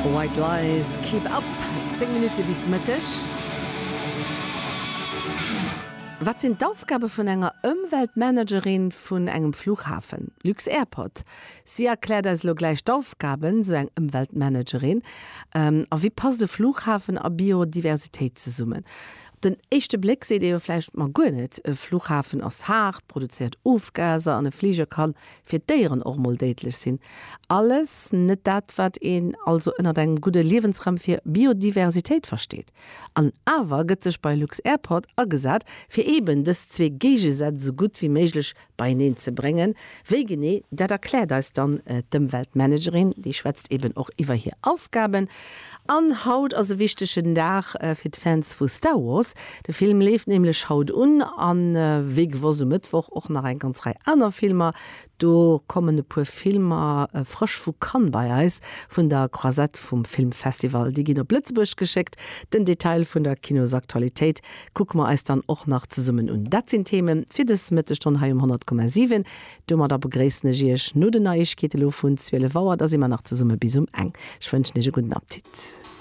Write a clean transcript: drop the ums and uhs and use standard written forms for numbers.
White Lies, Keep Up, 10 Minutte bis Mëtteg. Wat sinn d'Aufgabe vun enger Ëmweltmanagerin vun engem Flughafen, Lux-Airport? Si erkläert eis elo gläich d'Aufgaben, sou eng Ëmweltmanagerin. A wéi passt e Flughafen a Biodiversitéit zesummen? Op den éischte Bléck seet ee jo vläicht, ma guer net, e Flughafen ass haart, produzéiert Ofgaser an e Fliger ka fir d'Déieren och mol déidlech sinn. Alles net dat, wat een also ënnert engem gudde Liewensraum fir Biodiversitéit versteet. An awer gëtt sech bei lux-Airport agesat, fir eeben dës zwee Géigesätz esou gutt wéi méiglech beieneen ze bréngen. Wéi genee, dat erkläert eis dann d'Ëmweltmanagerin. Déi schwätzt eben och iwwer hir Aufgaben. An haut ass e wichtegen Dag fir d'Fans vu Star Wars. De Film leeft nämlech haut un an wéi gewosst um Mëttwoch och nach eng ganz Rei aner Filmer. Do kommen e puer Filmer frësch vu Cannes bei eis, vun der Croisette vum Filmfestival. Déi ginn op Lëtzebuerg geschéckt. Den Detail vun der Kinosaktualitéit kucke mer eis dann och nach zesummen un. Dat sinn d'Theme fir dës Mëttesstonn hei um 100,7. Domadder begréissen ech Iech no den Neiegkeete lo vun 12 Auer. Da si mer nach zesumme bis um eng. Ech wënschen Iech e gudden Appetit.